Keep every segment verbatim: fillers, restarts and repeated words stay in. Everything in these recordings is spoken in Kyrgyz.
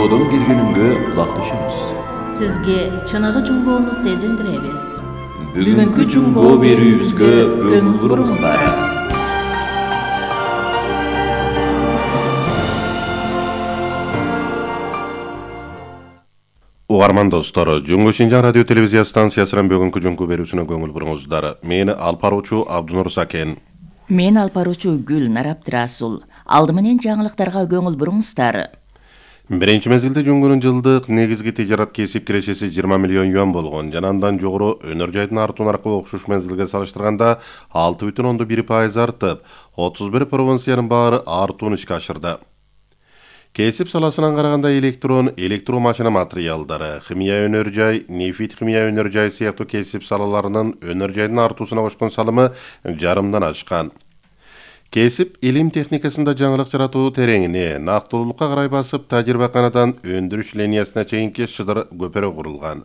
Жуңгоодон бир күнүнгө кулак түшүңүз. Сизге чыныгы жуңгоону сезилдиребиз. Бүгүнкү жуңгоо берүүбүзгө көңүл буруңуздар. Угарман достор, Жуңгу Шинжаң радио телевизия станциясынан бүгүнкү жуңгу берүүсүнө көңүл буруңуздар. Мен алып баруучу Абдунур Сакен. Мен алып баруучу Гүлнар Абдрасул. Алды менен жаңылыктарга көңүл буруңуздар. Биринчи мезгилде жуңгунун жылдык негизги тижарат кесип кирешеси жыйырма миллион юан болгон. Жана андан жогору өнөр жайдын артуу наркы окшош мезгилге салыштырганда алты бүтүн ондон бир пайыз артып, отуз бир провинциянын баары артуун ишке ашырды. Кесип саласынан караганда электрон, электромашина материалдары, химия өнөр жай, нефит химия өнөр жай сыяктуу кесип салаларынын өнөр жайдын артуусуна кошкон салымы жарымдан ашкан. Кесип илим техникасында жаңылык жаратуу тереңине, нактылуулукка карай басып, тажрыйбаканадан өндүрүш линиясына чейинки шыдыр көпөрө курулган.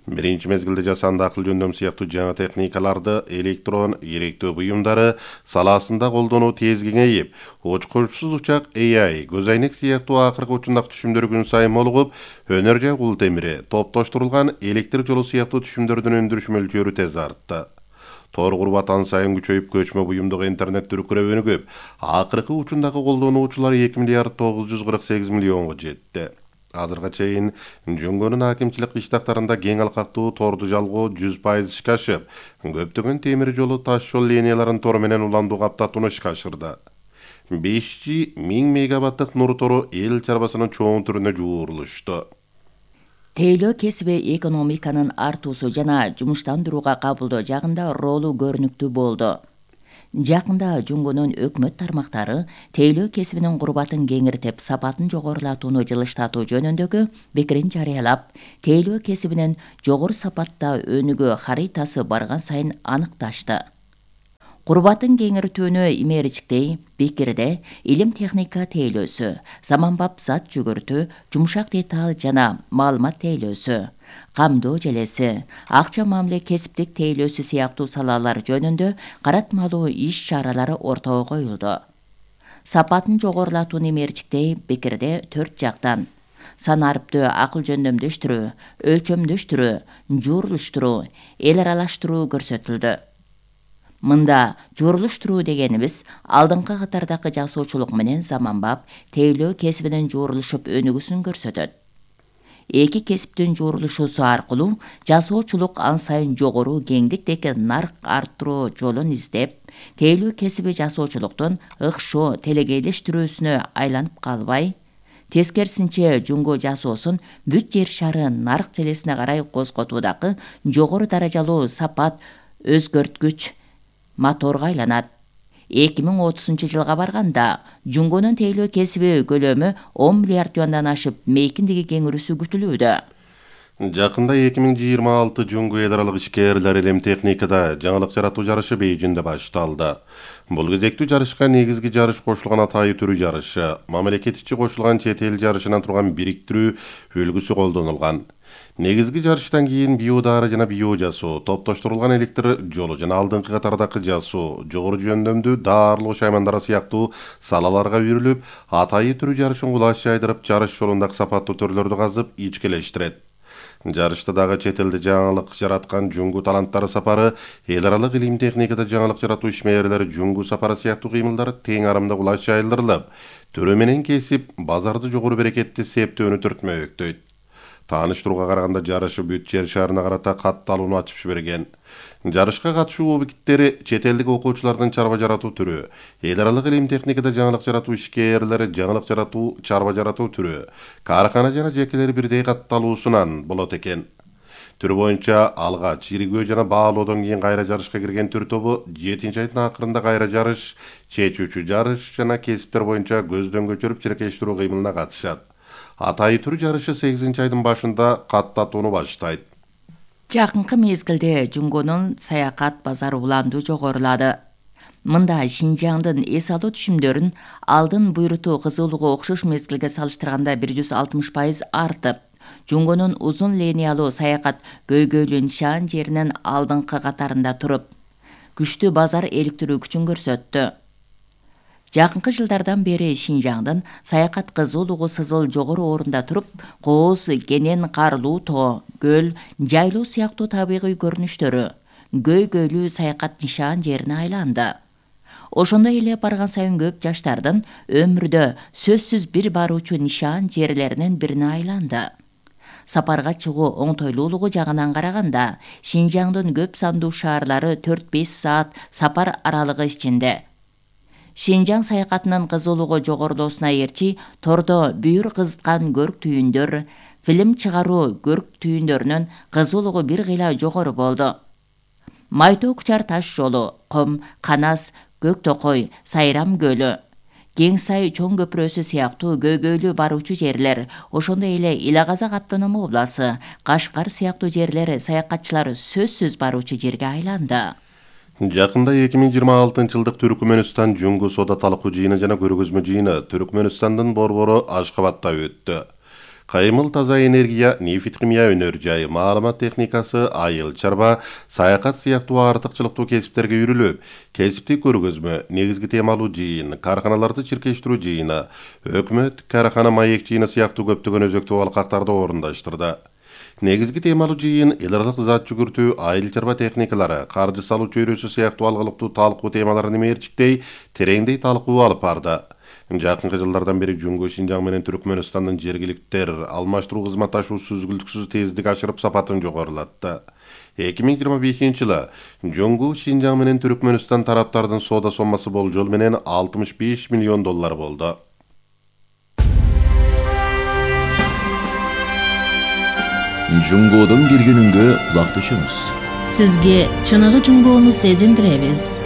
Биринчи мезгилде жасанды акыл жөндөм сыяктуу жаңы техникаларды, электрон, керектүү буюмдары саласында колдонуу тез кеңейип, учкучсуз учак A I, көзайнек сыяктуу акыркы учундак түшүмдөр күн сайын молугуп, өнөр жай кул темири, топтоштурулган электр жолу сыяктуу түшүмдөрдүн өндүрүш мөлчөрү тез артты. Тор курбат ан сайын күчөйүп, көчмө буюмдук интернет түркүрөбөнү көп. Акыркы учундагы колдонуучулар эки миллиард тогуз жүз кырк сегиз миллионго жетти. Азырга чейин жуңгунун акимчилик иштактарында кең алкактуу торду жалгоо жүз пайыз ишке ашып, көптөгөн темир жолу таш жол линияларын тор менен уландуу каптатууну ишке ашырды. беш жи миң мегабаттык нур тору эл чарбасынын чоң түрүнө жуурулушту. Тейлөө кесиби экономиканын артуусу жана жумуштандырууга кабылдоо жагында ролу көрүнүктүү болду. Жакында жуңгунун өкмөт тармактары тейлөө кесибинин курбатын кеңиртип, сапатын жогорулатууну жылыштатуу жөнүндөгү пикирин жарыялап, тейлөө кесибинин жогору сапатта өнүгүү харитасы барган сайын аныкташты. Курбатын кеңиртүүнү имеричтей пикирде илим техника тейлөөсү, заманбап зат жүгүртүү, жумшак деталь жана маалымат тейлөөсү, камдоо желеси, акча мамиле кесиптик тейлөөсү сыяктуу салалар жөнүндө каратмалуу иш-чаралары ортого коюлду. Сапатын жогорулатууну имеричтей пикирде төрт жактан сан арыптуу акыл жөндөмдөштүрүү, өлчөмдөштүрүү, жуурулуштуруу, эл аралаштыруу көрсөтүлдү. Мында жуурулуштуруу дегенибиз алдыңкы катардагы жасоочулук менен заманбап тейлөө кесибинин жуурулушуп өнүгүүсүн көрсөтөт. Эки кесиптин жуурулушуусу аркылуу жасоочулук ан сайын жогору кеңдиктеги нарк арттыруу жолун издеп, тейлөө кесиби жасоочулуктун ыкшоо телегейлештирүүсүнө айланып калбай, тескерисинче жуңго жасоосун бүт жер шары нарк желесине карай козготуудагы жогору даражалуу сапат өзгөрткүч моторго айланат. эки миң отузунчу жылга барганда жуңгунун тейлөө кесиби көлөмү он миллиард юандан ашып, мейкиндиги кеңирүүсү күтүлүүдө. Жакында эки миң жыйырма алты жуңгу эл аралык ишкерлер илим техникада жаңылык жаратуу жарышы Бейжиңде башталды. Бул кезектүү жарышка негизги жарыш кошулган атайы түрү жарышы, мамлекет ичи кошулган чет эл жарышынан турган бириктирүү үлгүсү колдонулган. Негизги жарыштан кийин биодары жана био жасоо, топтоштурулган электр жолу жана алдыңкы катардагы жасоо, жогору жөндөмдүү даарылоо шаймандары сыяктуу салаларга үйрүлүп, атайы түрү жарышын кулаш жайдырып, жарыш жолундагы сапаттуу төрлөрдү казып, ичкелештирет. Жарышта дагы чет элде жаңылык жараткан жуңгу таланттары сапары, эл аралык илим техникада жаңылык жаратуу ишмерлери жуңгу сапары сыяктуу кыймылдар тең арамда кулаш жайылдырылып, түрү менен кесип, базарды жогору берекетти септөөнү түртмөктөйт. Тааныштырууга караганда жарышы бүт жер шарына карата катталууну ачып жиберген. Жарышка катышуу объекттери чет элдик окуучулардын чарба жаратуу түрү, эл аралык илим техникада жаңылык жаратуу ишкерлери жаңылык жаратуу чарба жаратуу түрү, кааркана жана жекелери бирдей катталуусунан болот экен. Түрү боюнча алгач иргөө жана баалоодон кийин кайра жарышка кирген түр тобу жетинчи айдын акырында кайра жарыш, чечүүчү жарыш жана кесиптер боюнча көздөн көчүрүп чиркештирүү кыймылына катышат. Атайы түрү жарышы сегизинчи айдын башында каттатууну баштайт. Жакынкы мезгилде жуңгунун саякат базары уландуу жогорулады. Мында Шинжаңдын эс алуу түшүмдөрүн алдын буйрутуу кызылууга окшош мезгилге салыштырганда бир жүз алтымыш пайыз артып, жуңгунун узун линиялуу саякат көйгөйлүү нишан жеринин алдыңкы катарында туруп, күчтүү базар иликтирүү күчүн көрсөттү. Жакынкы жылдардан бери Шинжаңдын саякат кызуулугу сызыл жогору орунда туруп, кооз, кенен, карлуу тоо, көл, жайлоо сыяктуу табигый көрүнүштөрү көйгөйлүү саякат нишан жерине айланды. Ошондой эле барган сайын көп жаштардын өмүрдө сөзсүз бир баруучу нишан жерлеринин бирине айланды. Сапарга чыгуу оңтойлуулугу жагынан караганда, Шинжаңдын көп сандуу шаарлары төрт-беш саат сапар аралыгы ичинде. Шинжаң саякатынын кызуулугу жогорулоосуна ээрчи тордо бүйүр кызыткан көрк түйүндөр, фильм чыгаруу көрк түйүндөрүнүн кызуулугу бир кыйла жогору болду. Майтоо Кучар таш жолу, Ком, Канас, Көк Токой, Сайрам көлү, Кең Сай чоң көпүрөсү сыяктуу көйгөйлүү баруучу жерлер, ошондой эле Ила Казак автономдук областы, Кашкар сыяктуу жерлер саякатчылар сөзсүз баруучу жерге айланды. Жакында эки миң жыйырма алтынчы жылдык Түркмөнстан Жуңгу соода талкуу жыйыны жана көргөзмө жыйыны Түркмөнстандын борбору Ашкабадта өттү. Кайымыл таза энергия, нефть химия өнөр жайы, маалымат техникасы, айыл чарба, саякат сыяктуу артыкчылыктуу кесиптерге үйрүлүп, кесиптик көргөзмө, негизги темалуу жыйын, карканаларды чиркештирүү жыйыны, өкмөт, каракана маек жыйыны сыяктуу көптөгөн өзөктүү алкактарды орундаштырды. Негизги темалуу жыйын эл аралык зат жүгүртүү, айыл чарба техникалары, каржы салуу чөйрөсү сыяктуу алгылыктуу талкуу темаларын мээрчиктей, тереңдей талкуу алып барды. Жакынкы жылдардан бери Жуңгу, Шинжаң менен Түркмөнстандын жергиликтер алмаштыруу кызматташуусу үзгүлтүксүз тездик ашырып сапатын жогорулатты. эки миң жыйырма бешинчи жылы Жуңгу, Шинжаң менен Түркмөнстан тараптардын соода соммасы болжол менен алтымыш беш миллион доллар болду. Жуңгодон бир күнүнгө кулак түшөңүз. Сизге чыныгы жуңгоону сезиндиребиз.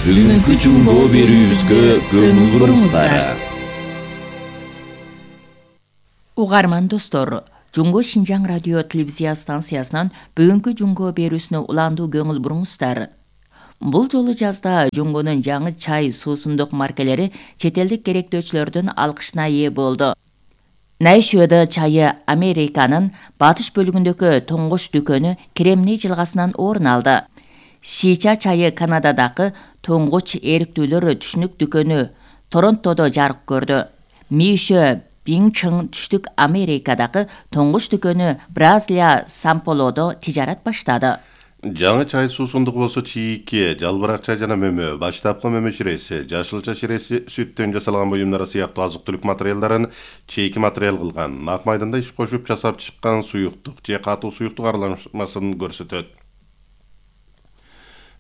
Бүгүнкү жуңгоо берүүбүзгө көңүл буруңуздар. Угарман достор, Жуңгу Шинжаң радио телевизия станциясынан бүгүнкү жуңгоо берүүсүнө уландуу көңүл буруңуздар. Бул жолу жазда Жуңгунун жаңы чай, суусундук маркелери чет элдик керектөөчүлөрдүн алкышына ээ болду. Найшуэда чайы Американын батыш бөлүгүндөгү тоңгоч дүкөнү Кремний жылгасынан орун алды. Шича чайы Канададагы тоңгоч эриктүүлөр түшүнүк дүкөнү Торонтодо жарык көрдү. Мишө Бинчың түштүк Америкадагы тоңгоч дүкөнү Бразилия Сан-Полодо тижарат баштады. Жаңы чай суусундук болсо чийикке, жалбырак чай жана мөмө, баштапкы мөмө ширеси, жашылча ширеси, сүттөн жасалган буюмдары сыяктуу азык-түлүк материалдарын чийки материал кылган, нак майданда иш кошуп жасап чыккан суюктук же катуу суюктук аралашмасын көрсөтөт.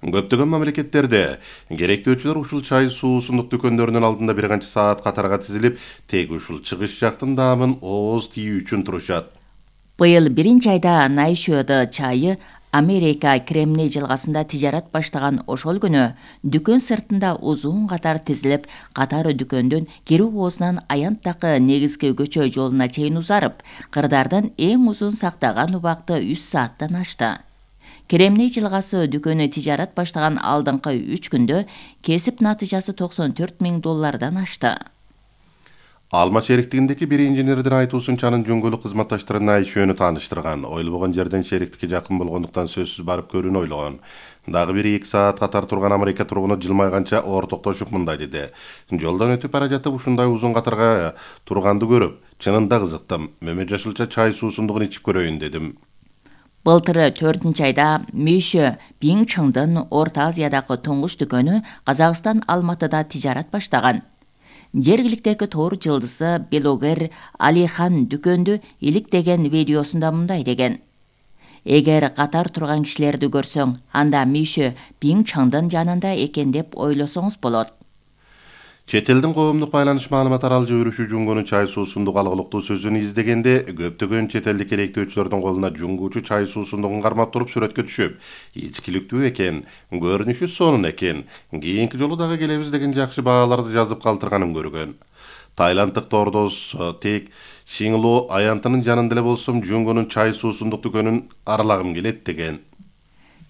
Көптөгөн мамлекеттерде керектөөчүлөр ушул чай суусундук дүкөндөрүнүн алдында бир канча саат катарга тизилип, тек ушул чыгыш жактын даамын ооз тийүү үчүн турушат. Быйыл биринчи айда Найшуэда чайы Америка Кремний жылгасында тижарат баштаган ошол күнү дүкөн сыртында узун катар тизилип, катары дүкөндүн кирүү оозунан аянттагы негизги көчө жолуна чейин узарып, кырдардын эң узун сактаган убакты үч сааттан ашты. Кремний жылгасы дүкөнү тижарат баштаган алдыңкы үч күндө кесип натыйжасы токсон төрт миң доллардан ашты. Алма шериктигиндеги бир инженердин айтуусунча анын жуңгулук кызматташтары Найшуэну тааныштырган. Ойлобогон жерден шериктикке жакын болгондуктан сөзсүз барып көрүүнү ойлогон. Дагы бир эки саат катар турган Америка тургуну жылмайганча ортоктошуп мындай деди. Жолдон өтүп бара жатып ушундай узун катарга турганды көрүп, чынында кызыктым. Мөмө жашылча чай суусундугун ичип көрөйүн дедим. Былтыры төртүнчү айда Мишө Бинчыңдын Орто Азиядагы тоңгоч дүкөнү Казакстан Алматыда тижарат баштаган. Жергиликтеги тоор жылдызы блогер Алихан дүкөндү иликтеген видеосунда мындай деген: Эгер катар турган кишилерди көрсөң, анда Мишө Бинчыңдын жанында экен деп ойлосоңуз болот. Чет элдин коомдук байланыш маалымат аралжы өрүшү Жуңгунун чай суусундук алгылыктуу сөзүн издегенде, көптөгөн чет элдик керектөөчүлөрдүн колуна жуңгучу чай суусундугун кармап туруп сүрөткө түшүп, ичкиликтүү экен, көрүнүшү сонун экен, кийинки жолу дагы келебиз деген жакшы бааларды жазып калтырганын көргөн. Тайланддык тордос тек Шингло аянтынын жанында эле болсом, Жуңгунун чай суусундук дүкөнүн аралагым келет деген.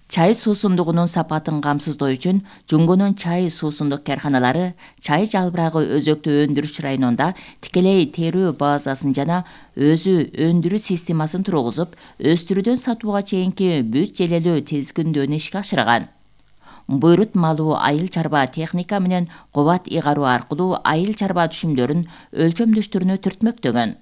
Чай суусундугунун сапатын камсыздоо үчүн Жуңгунун чай суусундук карканалары чай жалбырагы өзөктүү өндүрүш районунда тикелей терүү базасын жана өзү өндүрүү системасын тургузуп, өстүрүүдөн сатууга чейинки бүт желелүү тизгиндөөнү ишке ашырган. буйрут малуу айыл чарба техника менен кубат ыйгаруу аркылуу айыл чарба түшүмдөрүн өлчөмдөштөрүнө түртмөктөгөн.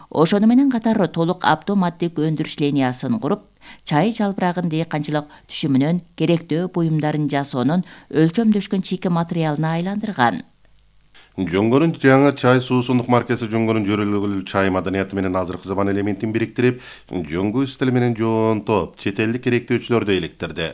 Ошону менен катар толук автоматтык өндүрүш линиясын куруп, чай жалбырагын дыйканчылык түшүмүнөн керектүү буюмдарын жасоонун өлчөмдөшкөн чийки материалына айландырган. Жөнгөнүн жаңы чай суусундук маркасы жөнгөнүн жөрөлгүлүү чай маданияты менен азыркы заман элементин бириктирип, жөнгө стили менен жоонтоп, чет элдик керектөөчүлөрдү иликтирди.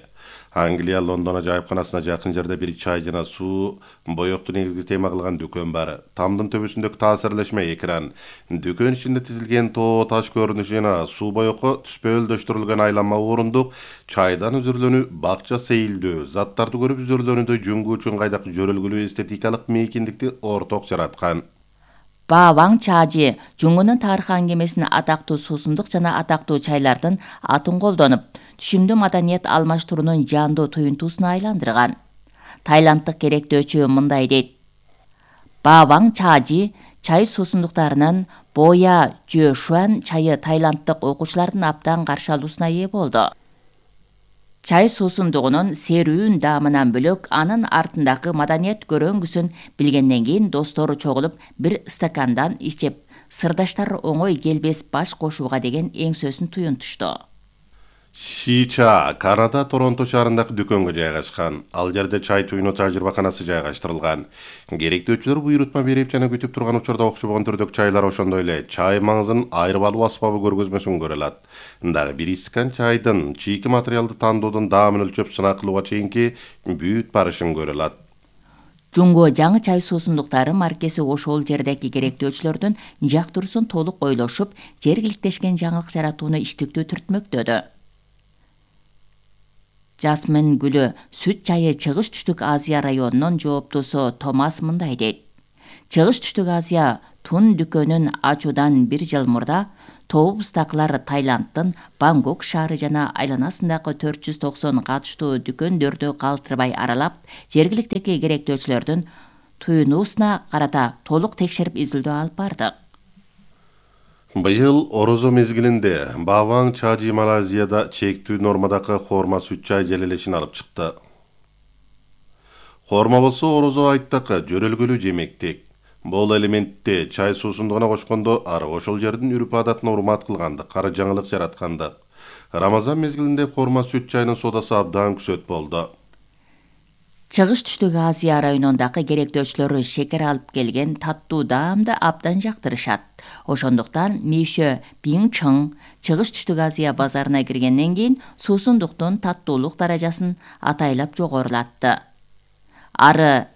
Англия Лондон ажайыпканасына жакын жерде бир чай жана суу боёкту негизги тема кылган дүкөн бар. Тамдын төбөсүндөгү таасирлешме экран, дүкөн ичинде тизилген тоо таш көрүнүшү жана суу боёкко түспөлдөштүрүлгөн айланма орундук, чайдан үзүрлөнүү, бакча сейилдөө, заттарды көрүп үзүрлөнүүдө жөнгө үчүн кайдак жөрөлгүлүү эстетикалык мейкиндикти орток жараткан. Бааваң чажы жөнгөнүн тарыхы аңгемесин атактуу суусундук жана атактуу чайлардын атын колдонуп, түшүмдүү маданият алмаштыруунун жандуу туюнтуусуна айландырган. Тайланддык керектөөчү мындай дейт: Бааваң чажы чай суусундуктарынын Боя Жө Шуан чайы тайланддык окуучулардын абдан каршы алуусуна ээ болду. Чай суусундугунун серүүн даамынан бөлөк анын артындагы маданият көрөңгүсүн билгенден кийин достору чогулуп бир стакандан ичип, сырдаштар оңой келбес баш кошууга деген эң сөзүн туюнтушту. Шича Канада Торонто шаарындагы дүкөнгө жайгашкан. Ал жерде чай туюну тажрыйбаканасы жайгаштырылган. Керектөөчүлөр буйрутма берип жана күтүп турган учурда окшобогон түрдөгү чайлар ошондой эле чай маңызын айрып алуу асбабы көргөзмөсүн көрө алат. Дагы бир стакан чайдын чийки материалды тандоодон даамын өлчөп сынак кылууга чейинки бүт барышын көрө алат. Жунго жаңы чай суусундуктары маркеси ошол жердеги керектөөчүлөрдүн жактыруусын толук ойлошуп, жергиликтешкен жаңылык жаратууну иштиктүү түртмөктөдү. Жасмин гүлү сүт чайы Чыгыш түштүк Азия районунун жооптусу Томас мындай дейт: Чыгыш түштүк Азия тун дүкөнүн ачуудан бир жыл мурда тобубуздагылар Таиланддын Бангкок шаары жана айланасындагы төрт жүз токсон катыштуу дүкөндөрдү калтырбай аралап, жергиликтеги керектөөчүлөрдүн туюнуусуна карата толук текшерип изилдөө алып бардык. Быйыл орозо мезгилинде Бааваң чажы Малайзияда чектүү нормадагы хорма сүт чай желелешин алып чыкты. Хорма болсо орозо айттагы жөрөлгүлүү жемектик. Бул элементте чай суусундугуна кошкондо ар ошол жердин үрп адатына урмат кылгандык, кара жаңылык жараткандык. Рамазан мезгилинде хорма сүт чайынын содасы абдан күсөт болду. Чыгыш түштүк Азия районундагы керектөөчүлөрү шекер алып келген таттуу даамды абдан жактырышат. Ошондуктан Мишө Бинчың Чыгыш түштүк Азия базарына киргенден кийин суусундуктун таттуулук даражасын атайлап жогорулатты. Ары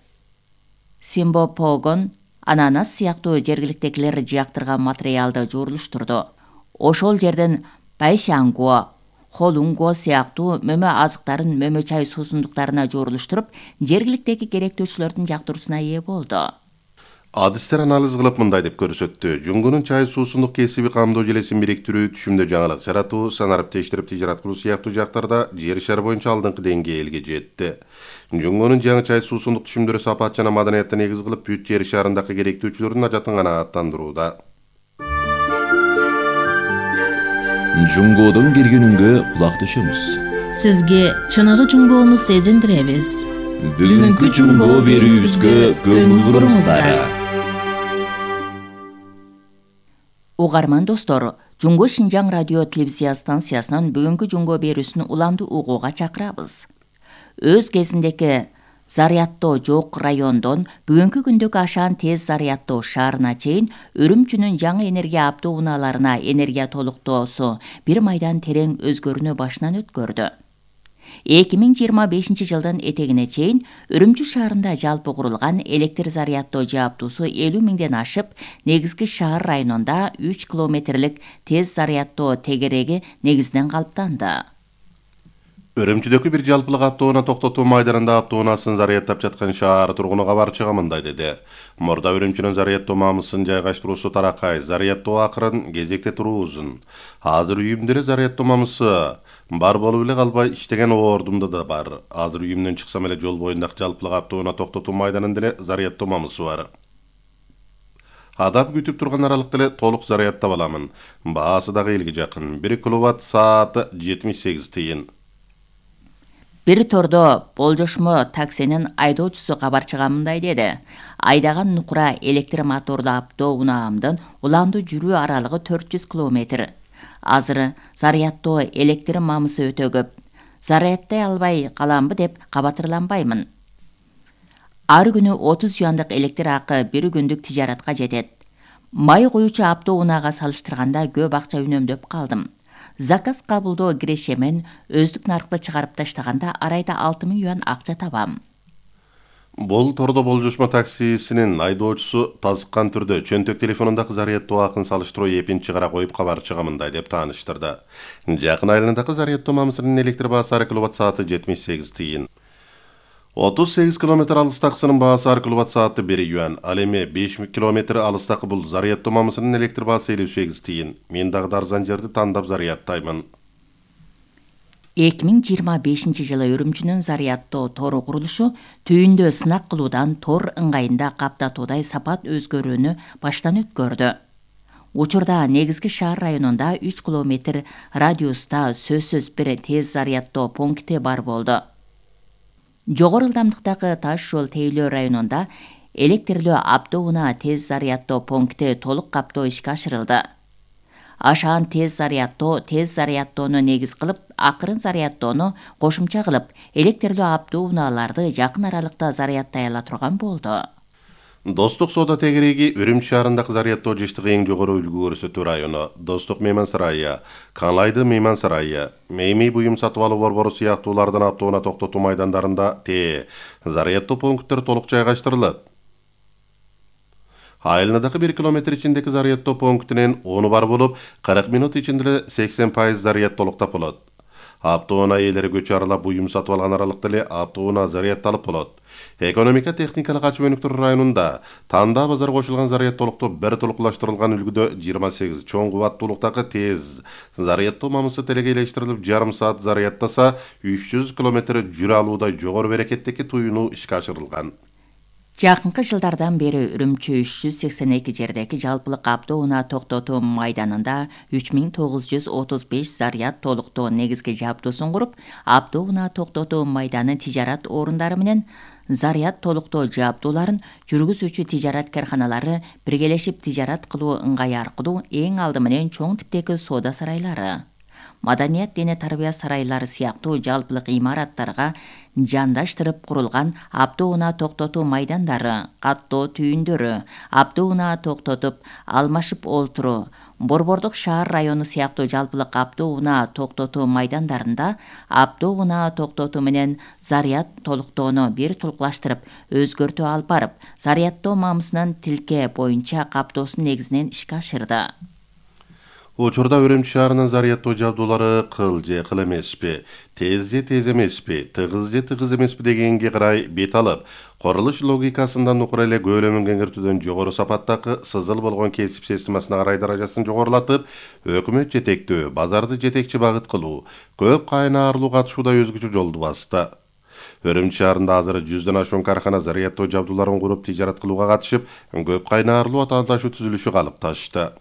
Симбопогон ананас сыяктуу жергиликтегилер жактырган материалды жуурулуштурду. Ошол жерден Байшангуо, Холунго сыяктуу мөмө азыктарын мөмө чай суусундуктарына жуурулуштуруп, жергиликтеги керектөөчүлөрдүн жактыруусуна ээ болду. Адистер анализ кылып мындай деп көрсөттү: Жөнгөнүн чай суусундук кесиби камдоо желесин бириктирүү, түшүмдө жаңылык жаратуу, санарып тештирип тижарат кылуу сыяктуу жактарда жер шары боюнча алдыңкы деңгээлге жетти. Жөнгөнүн жаңы чай суусундук түшүмдөрү сапат жана маданиятты негиз кылып, бүт жер шарындагы керектөөчүлөрдүн ажатын канааттандырууда. Жунгодон келгенүнгө кулак түшөмүз. Сизге чыныгы жунгоону сезиндиребиз. Бүгүнкү жунгоо берүүбүзгө көңүл буруңуздар. Угарман достор, Жунго Шинжаң радио телевизия станциясынын бүгүнкү жунгоо берүүсүн уланды угууга чакырабыз. Өз кезиндеги зарядтоо жок райондон бүгүнкү күндөгү ашаан тез зарядтоо шаарына чейин Үрүмчүнүн жаңы энергия абдуу унааларына энергия толуктоосу бир майдан терең өзгөрүүнү башынан өткөрдү. эки миң жыйырма бешинчи жылдын этегине чейин Үрүмчү шаарында жалпы курулган электр зарядтоо жааптуусу элүү миңден ашып, негизги шаар районунда үч километрлик тез зарядтоо тегереги негизинен калыптанды. Үрүмчүдөгү бир жалпылык автоунаа токтотуу майданында автоунаасын зарядтап жаткан шаар тургуну кабарчыга мындай деди: Мурда Үрүмчүнүн зарядтоо мамысын жайгаштыруусу таракай, зарядтоо акырын, кезекте туруу узун. Азыр үйүмдө зарядтоо мамысы бар болуп эле калбай, иштеген ордумда да бар. Азыр үйүмдөн чыксам эле жол боюндагы жалпылык автоунаа токтотуу майданында эле зарядтоо мамысы бар. Адам күтүп турган аралыкта эле толук зарядтап аламын. Баасы дагы элге жакын. бир киловатт сааты жетимиш сегиз тыйын. Бир тордо болжошмо таксинин айдоочусу кабарчыга мындай деди. Айдаган нукура электр мотордуу авто унаамдын уланды жүрүү аралыгы төрт жүз километр. Азыр зарядтоо электр мамысы өтө көп. Зарядтай албай каламбы деп кабатырланбаймын. Ар күнү отуз юандык электр акы бир күндүк тижаратка жетет. Май коюучу авто унаага салыштырганда көп акча үнөмдөп калдым. Заказ кабылдоо киреше мен өздүк наркты чыгарып таштаганда арайда алты миң юан акча табам. Бул тордо болжошмо таксисинин айдоочусу тазыккан түрдө чөнтөк телефонундагы зарядтоо акын салыштыруу эпин чыгара коюп кабарчыга мындай деп тааныштырды. Жакын айландагы зарядтоо мамысынын электр баасы ар киловатт сааты жетимиш сегиз тыйын. отуз сегиз километр алыстакысынын баасы ар киловатт сааты бир юан. Ал эми беш километр алыстакы бул зарядтоо мамысынын электр баасы элүү сегиз тыйын. Мен дагы арзан жерди тандап зарядтаймын. эки миң жыйырма бешинчи жылы Үрүмчүнүн зарядтоо тору курулушу түйүндө сынак кылуудан тор ыңгайында каптатуудай сапат өзгөрүүнү баштан өткөрдү. Учурда негизги шаар районунда үч километр радиуста сөзсүз бир тез зарядтоо пункти бар болду. Жогору ылдамдыктагы таш жол Тейлөө районунда электрлүү авто унаа тез зарядтоо пункти толук каптоо ишке ашырылды. Ашаан тез зарядтоо тез зарядтоону негиз кылып, акырын зарядтоону кошумча кылып, электрлүү авто унааларды жакын аралыкта зарядтай ала турган болду. Достук соода тегереги Үрүмчү шаарындагы зарядтоо жыштыгы эң жогору үлгү көрсөтүү району. Достук мейман сарайы, Канлайды мейман сарайы, Мейми буюм сатып алуу борбору сыяктуулардын автоунаа токтотуу майдандарында Т зарядтоо пункттер толук жайгаштырылат. Айылнадагы бир километр ичиндеги зарядтоо пунктинин оны бар болуп, кырк минут ичинде сексен пайыз заряд толуктап болот. Автоунаа ээлери көчө аралап буюм сатып алган аралыкта эле автоунаа зарядталып болот. Экономика техникалык ачуу өнүктүрүү районунда танда базар кошулган зарядтоолукту бир толукташтырылган үлгүдө жыйырма сегиз чоң кубаттуулуктагы тез зарядтоо мамысы телегейлештирилип жарым саат зарядтаса үч жүз километр жүрө алуудай жогору берекеттеги туюну ишке ашырылган. Жакынкы жылдардан бери Үрүмчү үч жүз сексен эки жердеги жалпылык авто унаа токтотуу майданында үч миң тогуз жүз отуз беш заряд толуктоо негизги жабдуусун куруп, авто унаа токтотуу майданы тижарат орундары менен заряд толуктоо жабдууларын жүргүзүүчү тижарат карканалары биргелешип тижарат кылуу ыңгайы аркылуу эң алды менен чоң типтеги соода сарайлары, маданият дене тарбия сарайлары сыяктуу жалпылык имараттарга жандаштырып курулган авто унаа токтотуу майдандары, каттоо түйүндөрү, авто унаа токтотуп алмашып олтуруу, Борбордук шаар району сыяктуу жалпылык авто унаа токтотуу майдандарында авто унаа токтотуу менен заряд толуктоону бир толукташтырып, өзгөртүү алып барып, зарядтоо мамысынын тилке боюнча каптоосу негизинен ишке ашырды. Учурда Үрүмчү шаарынын зарядтоо жабдуулары кыл же кыл эмеспи, тез же тез эмеспи, тыгыз же тыгыз эмеспи дегенге карай бет алып, курулуш логикасында нукура эле көөлөмүн кеңиртүүдөн жогору сапаттагы сызыл болгон кесип системасына карай даражасын жогорулатып, өкмөт жетектөө, базарды жетекчи багыт кылуу, көп кайнаарлуу катышууда өзгөчө жолду басты. Үрүмчү шаарында азыр жүздөн ашуун каркана зарядтоо жабдууларын куруп тижарат кылууга катышып, көп кайнаарлуу атаандашуу түзүлүшү калыпташты.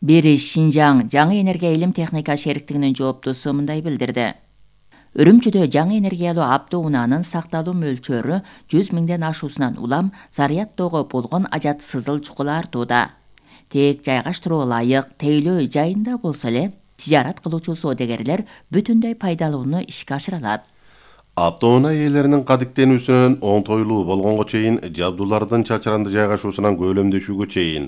Бери Шинжаң жаңы энергия илим техника шериктигинин жооптусу мындай билдирди. Үрүмчүдө жаңы энергиялуу авто унаанын сакталуу мөлчөрү жүз миңден ашуусунан улам зарядтоого болгон ажат сызыл чукул артууда. Тек жайгаштыруу ылайык Тейлөө жайында болсо эле тижарат кылуучу соодагерлер бүтүндөй пайдалууну ишке ашыра алат. Автоунаа ээлеринин кадиктенүүсүнөн оңтойлуу болгонго чейин жабдуулардын чачыранды жайгашуусунан көөлөмдөшүүгө чейин,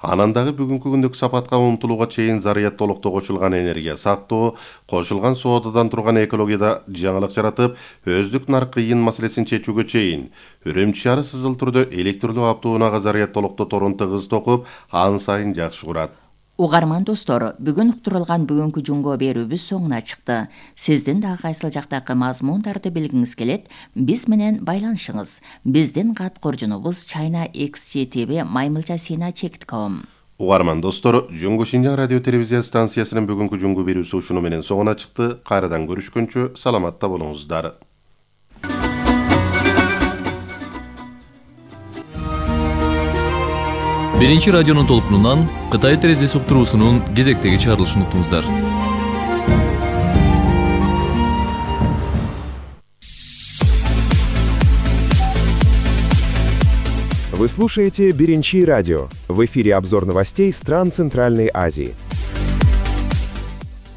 анан дагы бүгүнкү күндүк сапатка умтулууга чейин зарядтоолукта кошулган энергия сактоо, кошулган соодадан турган экологияда жаңылык жаратып, өздүк нарк кыйын маселесин чечүүгө чейин Үрүмчү шаары сызыл түрдө электрлүү автоунаага зарядтоолукта торун тыгыз токуп, ан сайын жакшы курат. Угарман достор, бүгүн уктурулган бүгүнкү жунго берүүбүз соңуна чыкты. Сиздин дагы кайсыл жактагы мазмундарды билгиңиз келет, биз менен байланышыңыз. Биздин кат коржунубуз China X G T V маймылча сина чек точка ком. Угарман достор, Жуңгу Шинжаң радио телевизия станциясынын бүгүнкү жунго берүүсү ушуну менен соңуна чыкты. Кайрадан көрүшкөнчө саламатта болуңуздар. Биринчи радионун толкунунан Кытай терезеси уктуруусунун кезектеги чыгарылышын уктуңуздар. Вы слушаете Беренчи радио. В эфире обзор новостей стран Центральной Азии.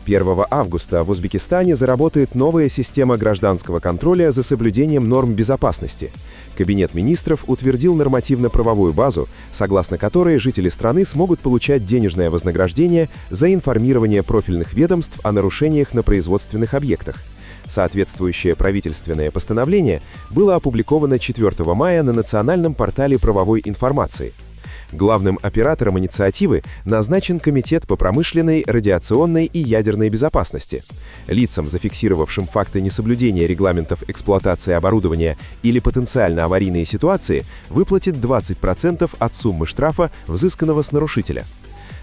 первого августа в Узбекистане заработает новая система гражданского контроля за соблюдением норм безопасности. Кабинет министров утвердил нормативно-правовую базу, согласно которой жители страны смогут получать денежное вознаграждение за информирование профильных ведомств о нарушениях на производственных объектах. Соответствующее правительственное постановление было опубликовано четвёртого мая на национальном портале правовой информации. Главным оператором инициативы назначен Комитет по промышленной, радиационной и ядерной безопасности. Лицам, зафиксировавшим факты несоблюдения регламентов эксплуатации оборудования или потенциально аварийные ситуации, выплатит двадцать процентов от суммы штрафа, взысканного с нарушителя.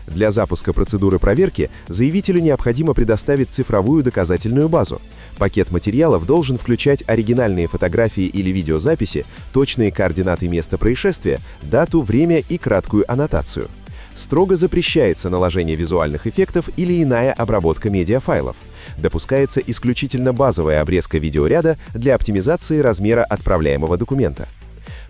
Для запуска процедуры проверки заявителю необходимо предоставить цифровую доказательную базу. Пакет материалов должен включать оригинальные фотографии или видеозаписи, точные координаты места происшествия, дату, время и краткую аннотацию. Строго запрещается наложение визуальных эффектов или иная обработка медиафайлов. Допускается исключительно базовая обрезка видеоряда для оптимизации размера отправляемого документа.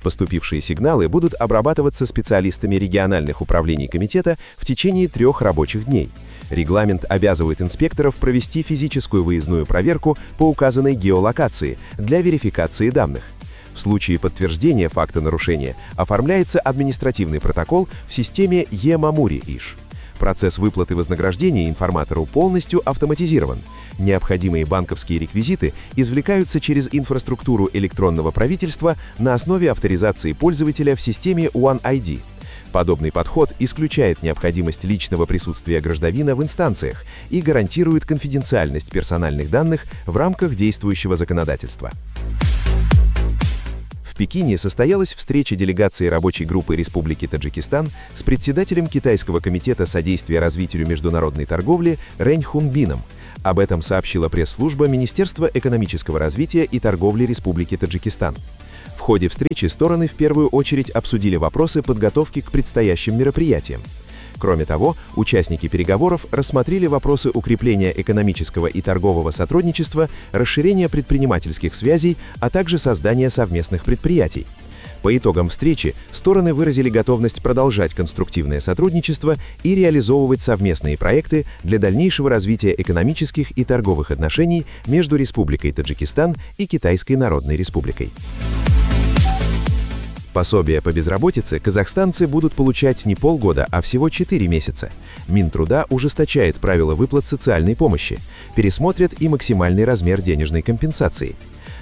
Поступившие сигналы будут обрабатываться специалистами региональных управлений комитета в течение трех рабочих дней. Регламент обязывает инспекторов провести физическую выездную проверку по указанной геолокации для верификации данных. В случае подтверждения факта нарушения оформляется административный протокол в системе Е-Мамури-Иш. Процесс выплаты вознаграждения информатору полностью автоматизирован. Необходимые банковские реквизиты извлекаются через инфраструктуру электронного правительства на основе авторизации пользователя в системе One ай ди. Подобный подход исключает необходимость личного присутствия гражданина в инстанциях и гарантирует конфиденциальность персональных данных в рамках действующего законодательства. В Пекине состоялась встреча делегации рабочей группы Республики Таджикистан с председателем Китайского комитета содействия развитию международной торговли Рэнь Хунбином. Об этом сообщила пресс-служба Министерства экономического развития и торговли Республики Таджикистан. В ходе встречи стороны в первую очередь обсудили вопросы подготовки к предстоящим мероприятиям. Кроме того, участники переговоров рассмотрели вопросы укрепления экономического и торгового сотрудничества, расширения предпринимательских связей, а также создания совместных предприятий. По итогам встречи стороны выразили готовность продолжать конструктивное сотрудничество и реализовывать совместные проекты для дальнейшего развития экономических и торговых отношений между Республикой Таджикистан и Китайской Народной Республикой. Пособие по безработице казахстанцы будут получать не полгода, а всего четыре месяца. Минтруда ужесточает правила выплат социальной помощи, пересмотрят и максимальный размер денежной компенсации.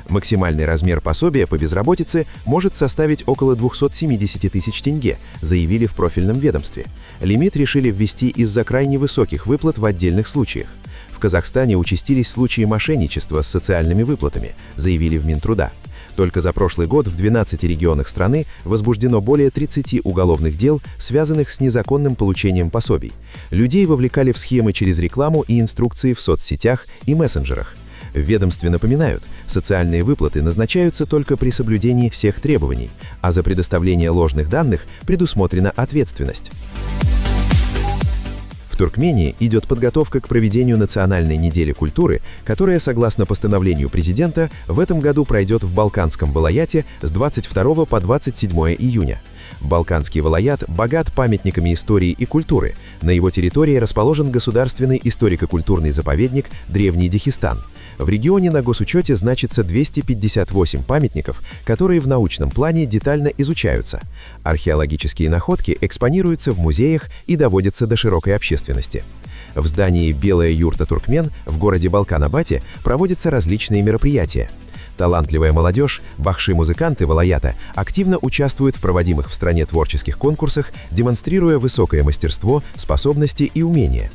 Максимальный размер пособия по безработице может составить около двухсот семидесяти тысяч тенге, заявили в профильном ведомстве. Лимит решили ввести из-за крайне высоких выплат в отдельных случаях. В Казахстане участились случаи мошенничества с социальными выплатами, заявили в Минтруда. Только за прошлый год в двенадцати регионах страны возбуждено более тридцати уголовных дел, связанных с незаконным получением пособий. Людей вовлекали в схемы через рекламу и инструкции в соцсетях и мессенджерах. В ведомстве напоминают, социальные выплаты назначаются только при соблюдении всех требований, а за предоставление ложных данных предусмотрена ответственность. В Туркмении идет подготовка к проведению Национальной недели культуры, которая, согласно постановлению президента, в этом году пройдет в Балканском вилаяте с двадцать второго по двадцать седьмое июня. Балканский вилаят богат памятниками истории и культуры. На его территории расположен государственный историко-культурный заповедник «Древний Дагестан». В регионе на госучете значится двести пятьдесят восемь памятников, которые в научном плане детально изучаются. Археологические находки экспонируются в музеях и доводятся до широкой общественности. В здании «Белая юрта Туркмен» в городе Балкан-Абате проводятся различные мероприятия. Талантливая молодежь, бахши-музыканты вилаята активно участвуют в проводимых в стране творческих конкурсах, демонстрируя высокое мастерство, способности и умения.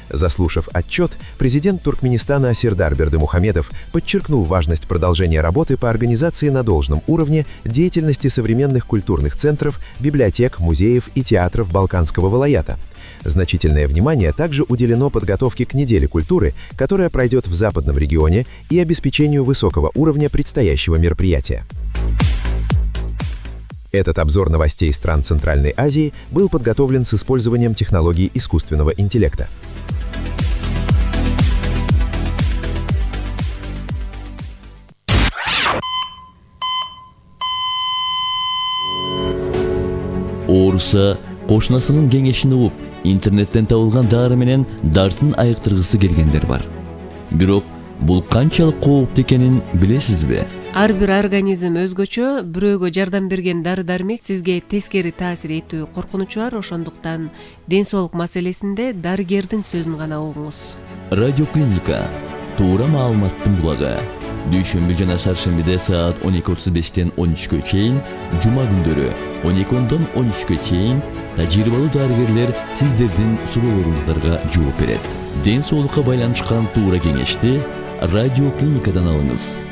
Заслушав отчет, президент Туркменистана Сердар Бердымухамедов подчеркнул важность продолжения работы по организации на должном уровне деятельности современных культурных центров, библиотек, музеев и театров Балканского вилаята. Значительное внимание также уделено подготовке к неделе культуры, которая пройдет в западном регионе, и обеспечению высокого уровня предстоящего мероприятия. Этот обзор новостей стран Центральной Азии был подготовлен с использованием технологий искусственного интеллекта. Муса кошунасынын кеңешин угуп, интернеттен табылган дары менен дартын айыктыргысы келгендер бар. Бирок бул канчалык кооптуу экенин билесизби? Ар бир организм өзгөчө, бирөөгө жардам берген дары-дармек сизге тескери таасир этүү коркунучу бар, ошондуктан ден соолук маселесинде дарыгердин сөзүн гана угуңуз. Радиоклиника туура маалыматтын булагы. Дүйшөмбү жана шаршембиде саат он эки отуз бештен он үчкө чейин, жума күндөрү он эки ондон он үчкө чейин тажрыйбалуу дарыгерлер сиздердин суроолоруңуздарга жооп берет. Ден соолукка байланышкан туура кеңешти радиоклиникадан алыңыз.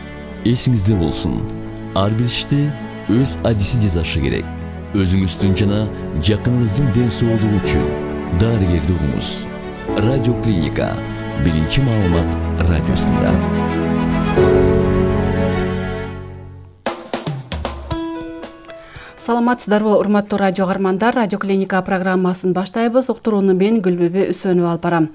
Эсиңизде болсун, ар бир ишти өз адиси жасашы керек. Өзүңүздүн жана жакыныңыздын ден соолугу үчүн дарыгерди угуңуз. Радиоклиника биринчи маалымат радиосунда. Саламатсыздарбы, урматтуу радио каармандар, радиоклиника программасын баштайбыз. Уктурууну мен Гүлбүбү Үсөнүп алып барам.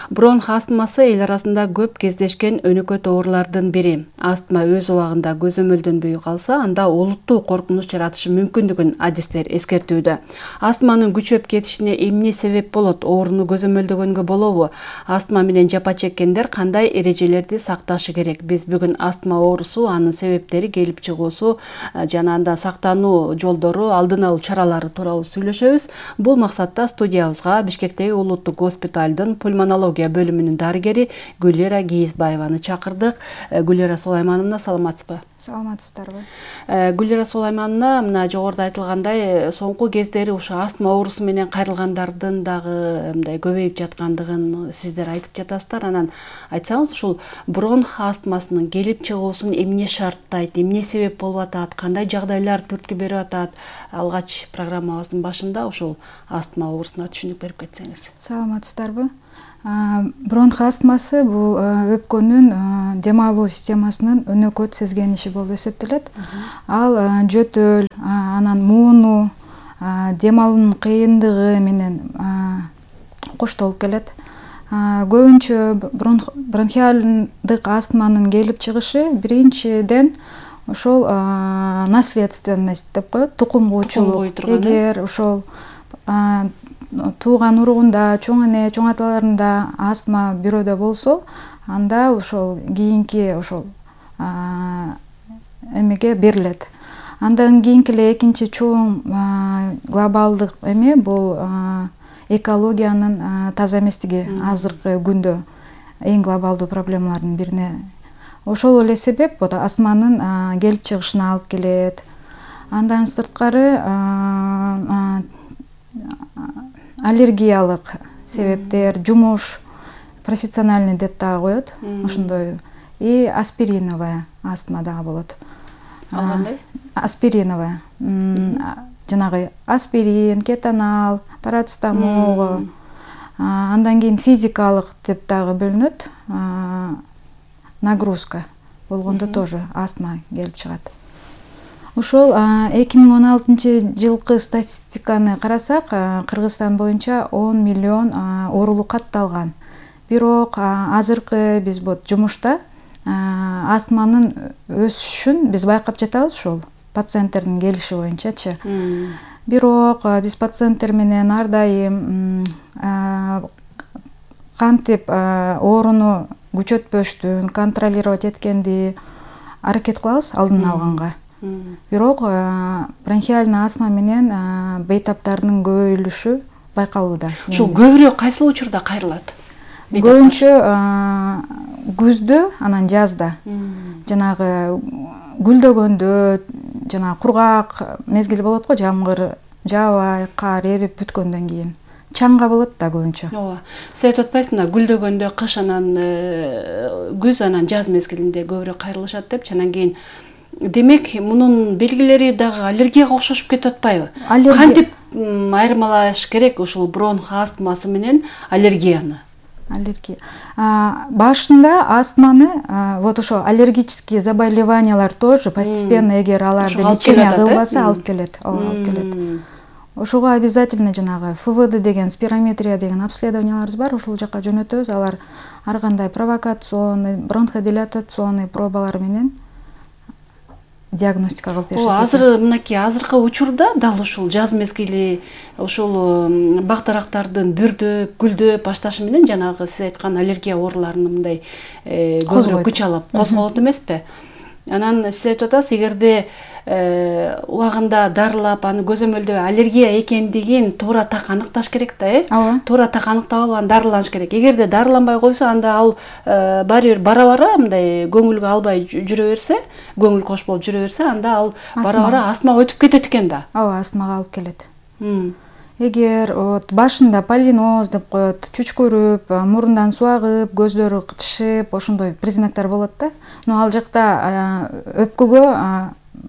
Бронх астмасы эл арасында көп кездешкен өнөкөт оорулардын бири. Астма өз убагында көзөмөлдөнбөй калса, анда олуттуу коркунуч жаратышы мүмкүндүгүн адистер эскертүүдө. Астманын күчөп кетишине эмне себеп болот? Ооруну көзөмөлдөгөнгө болобу? Астма менен жапа чеккендер кандай эрежелерди сакташы керек? Биз бүгүн астма оорусу, анын себептери, келип чыгуусу жана анда сактануу жол алдын алуу чаралары тууралуу сүйлөшөбүз. Бул максатта студиябызга Бишкектеги улуттук госпиталдын пульмонология бөлүмүнүн дарыгери Гүлера Кийизбаеваны чакырдык. Гүлера Сулаймановна, саламатсызбы? Саламатсыздарбы? Гүлера Сулаймановна, мына жогоруда айтылгандай, соңку кездери ушу астма оорусу менен кайрылгандардын дагы мындай көбөйүп жаткандыгын сиздер айтып жатасыздар. Анан айтсаңыз, ушул бронх астмасынын келип чыгуусун эмне шарттайт, эмне себеп болуп атат, кандай жагдайлар түрткү берип атат? Алгач программабыздын башында ушул астма оорусуна түшүнүк берип кетсеңиз. Саламатсыздарбы? Бронх астмасы бул өпкөнүн дем алуу системасынын өнөкөт сезгениши болуп эсептелет. Ал жөтөл, анан мууну, дем алуунун кыйындыгы менен коштолуп келет. Көбүнчө бронхиалдык астманын келип чыгышы биринчиден ошол наследственность деп коет, тукум куучулук. Эгер ошол тууган уругунда, чоң эне, чоң аталарында астма бирөөдө болсо, анда ошол кийинки ошол эмеге берилет. Андан кийинки эле экинчи чоң глобалдык эме бул экологиянын таза эместиги азыркы күндө эң глобалдуу проблемалардын бирине. Ошол эле себеп астманын келип чыгышына алып келет. Андан сырткары аллергиялык себептер, жумуш, профессиональный деп дагы коет, ошондой. И аспириновая астма дагы болот. Кандай? Аспириновая. Жанагы аспирин, кетанал, парацетамол. Андан кийин физикалык деп дагы бөлүнөт. Нагрузка болгондо тоже астма келип чыгат. Ошол эки миң он алтынчы жылкы статистиканы карасак, Кыргызстан боюнча он миллион оорулук катталган. Бирок азыркы биз бут жумушта астманын өсүшүн биз байкап жатабыз ушул пациенттердин келиши боюнчачы. Бирок биз пациенттер менен ар дайым кантип ооруну күчөтпөштүн, контролировать эткенди аракет кылабыз алдын алганга. Бирок бронхиальный астма менен бейтаптардын көбөйүлүшү байкалууда. Ушул көбүрөөк кайсыл учурда кайрылат? Көбүнчө күздө, анан жазда. Жанагы гүлдөгөндө, жана кургак мезгил болот го, жамгыр жаабай, кар эрип бүткөндөн кийин. Чаңга болот да көбүнчө. Ооба. Сиз айтып атпайсызбы, гүлдөгөндө, кыш анан күз анан жаз мезгилинде көбүрөөк кайрылышат деп, анан кийин демек мунун белгилери дагы аллергияга окшошуп кетип атпайбы? Кантип айырмалаш керек ушул бронх астмасы менен аллергияны? Аллергия. Башында астманы, вот ошо аллергические заболеваниялар тоже постепенно, эгер аларды лечение кылбаса, алып келет. Алып келет. Ошого обязательно жанагы эф вэ дэ деген спирометрия деген обследованияларыбыз бар, ошол жака жөнөтөбүз. Алар ар кандай провокационный, бронходилатационный пробалар менен диагностика кылып беришет. Ооба, азыр мынакей азыркы учурда дал ушул жаз мезгили ушул бак дарактардын бүрдөп, гүлдөп башташы менен жанагы сиз айткан аллергия ооруларынын мындай көбүрөөк күч алып козголот эмеспи? Анан сиз айтып атасыз, эгерде убагында дарылап, аны көзөмөлдөп аллергия экендигин туура так аныкташ керек да, э? Ооба. Туура так аныктап алып, дарыланыш керек. Эгерде дарыланбай койсо, анда ал баары бир бара-бара мындай көңүлгө албай жүрө берсе, көңүл кош болуп жүрө берсе, анда ал бара-бара астмага өтүп кетет экен да. Ооба, астмага алып келет. Эгер вот башында полиноз деп коет, чүчкүрүп, мурундан суу агып, көздөрү кытышып, ошондой признактар болот да. Но ал жакта өпкөгө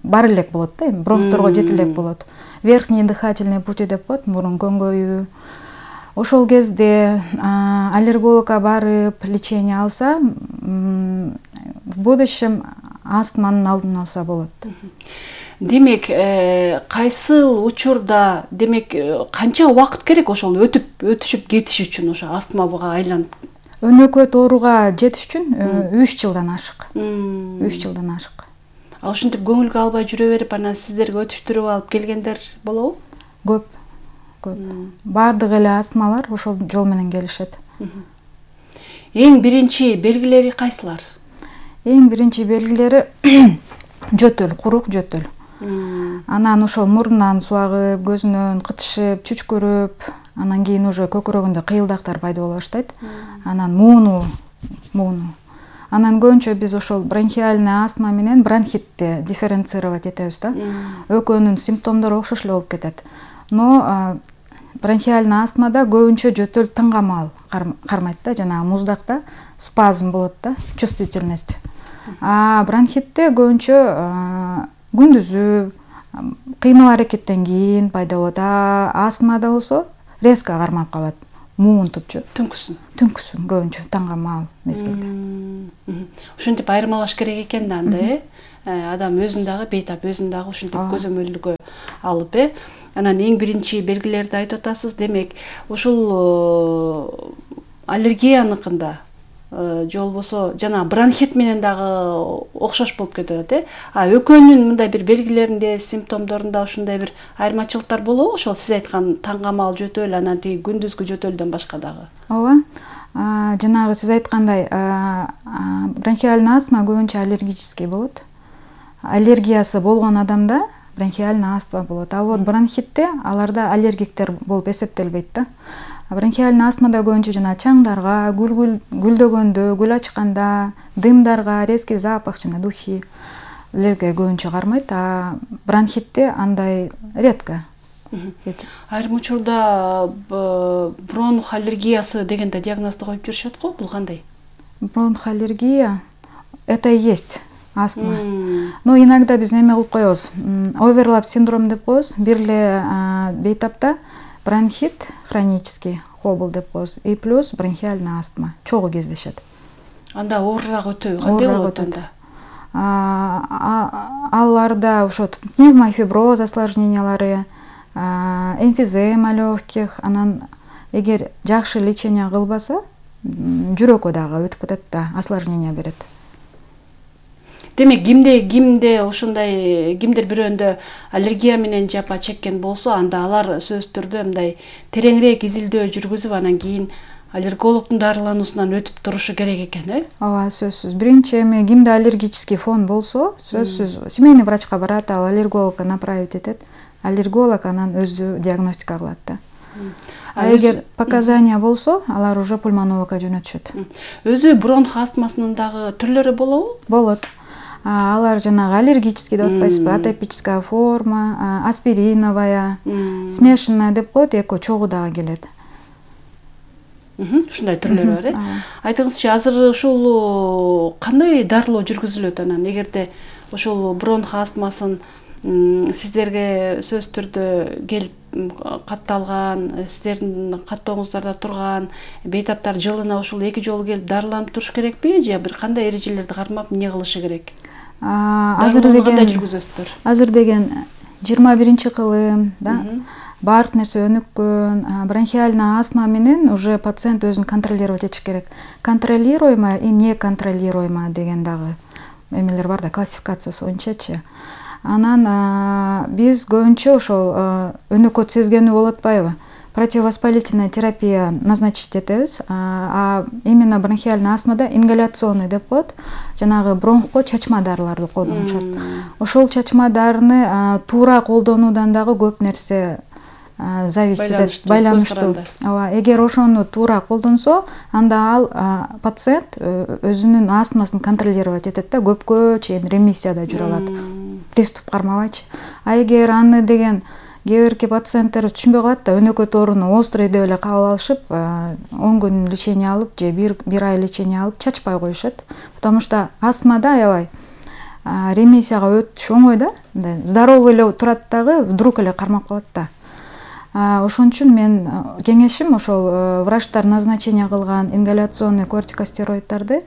бар элек болот да, бронхторго жете элек болот. Верхний дыхательный пути деп коет, мурун көңгөйүү. Ошол кезде аллергологко барып, лечение алса, в будущем астманын алдын алса болот. Демек, кайсыл учурда, демек, канча убакыт керек ошол өтүп, өтүшүп кетиш үчүн ошо астмага айланып? Өнөкөт ооруга жетиш үчүн үч жылдан ашык. үч жылдан ашык. А ушинтип көңүлгө албай жүрө берип, анан сиздерге өтүштүрүп алып келгендер болобу? Көп. Көп. Бардык эле астмалар ошол жол менен келишет. Эң биринчи белгилери кайсылар? Эң биринчи белгилери жөтөл, курук жөтөл. Анан ошол мурундан суу агып, көзүнөн кытышып, чүчкүрүп, анан кийин уже көкүрөгүндө кыйылдактар пайда боло баштайт. Анан мууну, мууну. Анан көбүнчө биз ошол бронхиальный астма менен бронхитти дифференцировать этебиз да. Экөөнүн симптомдору окшош эле болуп кетет. Но бронхиальный астмада көбүнчө жөтөл таңгамал кармайт да, жана муздакта спазм болот да, чувствительность. А бронхитте көбүнчө күндүзү кыймыл аракеттен кийин пайда болот. А астмада болсо резко кармап калат. Муунтупчу. Түнкүсүн. Түнкүсүн көбүнчө таңгамал мезгилде. Ушинтип айырмалаш керек экен да анда, э? Адам өзүн дагы бейтап, өзүн дагы ушинтип көзөмөлгө алып, э? Анан эң биринчи белгилерди айтып атасыз. Демек, ушул аллергияныкында же болбосо жана бронхит менен дагы окшош болуп кетет, э? А экөөнүн мындай бир белгилеринде, симптомдорунда ушундай бир айырмачылыктар болобу? Ошол сиз айткан таңгамал жөтөл, анан тиги күндүзгү жөтөлдөн башка дагы. Ооба. Жанагы сиз айткандай, бронхиальный астма көбүнчө аллергический болот. Аллергиясы болгон адамда бронхиальный астма болот. А вот бронхитте аларда аллергиктер болуп эсептелбейт да. Бронхиальный астмада көбүнчө жана чаңдарга, гүл гүлдөгөндө, гүл ачканда, дымдарга, резкий запах жана духилерге көбүнчө кармайт, а бронхитте андай редко. Айрым учурда бронх аллергиясы дегенде диагнозду коюп жүрүшөт го, бул кандай? Бронх аллергия это и есть астма. Но иногда биз неме кылып коебуз. Оверлап синдром деп коебуз. Бир эле бейтапта бронхит хронический хобл деп коебуз. И плюс бронхиальный астма чогуу кездешет. Анда оорураак өтөбү, кандай болот анда? Аларда ошо пневмофиброз осложнениялары, эмфизема легких, анан эгер жакшы лечение кылбаса, жүрөккө дагы өтүп кетет да, осложнение берет. Демек, кимде кимде ошондой кимдир бирөөндө аллергия менен жапа чеккен болсо, анда алар сөзсүз түрдө мындай тереңирээк изилдөө жүргүзүп, анан кийин аллергологдун дарылануусунан өтүп турушу керек экен, э? Ооба, сөзсүз. Биринчи эми кимде аллергический фон болсо, сөзсүз семейный врачка барат, ал аллергологко направить этет. Аллерголог анан өзү диагностика кылат да. А эгер показания болсо, алар уже пульмонологко жөнөтүшөт. Өзү бронх астмасынын дагы түрлөрү болобу? Болот. Алар жанагы аллергический деп атпайсызбы, атопическая форма, аспириновая, смешанная деп коет, экөө чогуу дагы келет. Ушундай түрлөрү бар, э? Айтыңызчы, азыр ушул кандай дарылоо жүргүзүлөт анан? Эгерде ушул бронх астмасын сиздерге сөзсүз түрдө келип катталган, сиздердин каттооңуздарда турган бейтаптар жылына ушул эки жолу келип дарыланып туруш керекпи, же бир кандай эрежелерди кармап эмне кылышы керек? Азыр деген азыр деген жыйырма биринчи кылым, да? Баардык нерсе өнүккөн, бронхиальный астма менен уже пациент өзүн контролировать этиш керек. Контролируемая и неконтролируемая деген дагы эмелер бар да, классификациясы боюнчачы. Анан биз көбүнчө ошол өнөкөт сезгенүү болуп атпайбы? Противовоспалительная терапия назначить этебиз. А именно бронхиальный астмада ингаляционный деп коет. Жанагы бронхко чачма дарыларды колдонушат. Ошол чачма дарыны туура колдонуудан дагы көп нерсе зависит этет, байланыштуу. Ооба, эгер ошону туура колдонсо, анда ал пациент өзүнүн астмасын контролировать этет да, көпкө чейин ремиссияда жүрө алат. Приступ кармабайчы. А эгер аны деген кээ бирки пациенттер түшүнбөй калат да, өнөкөт ооруну острый деп эле кабыл алышып, он күн лечение алып же бир ай лечение алып чачпай коюшат. Потому что астмада аябай ремиссияга өтүш оңой да, здоровый эле турат дагы вдруг эле кармап калат да. Ошон үчүн мен кеңешим ошол врачтар назначение кылган ингаляционный кортикостероиддарды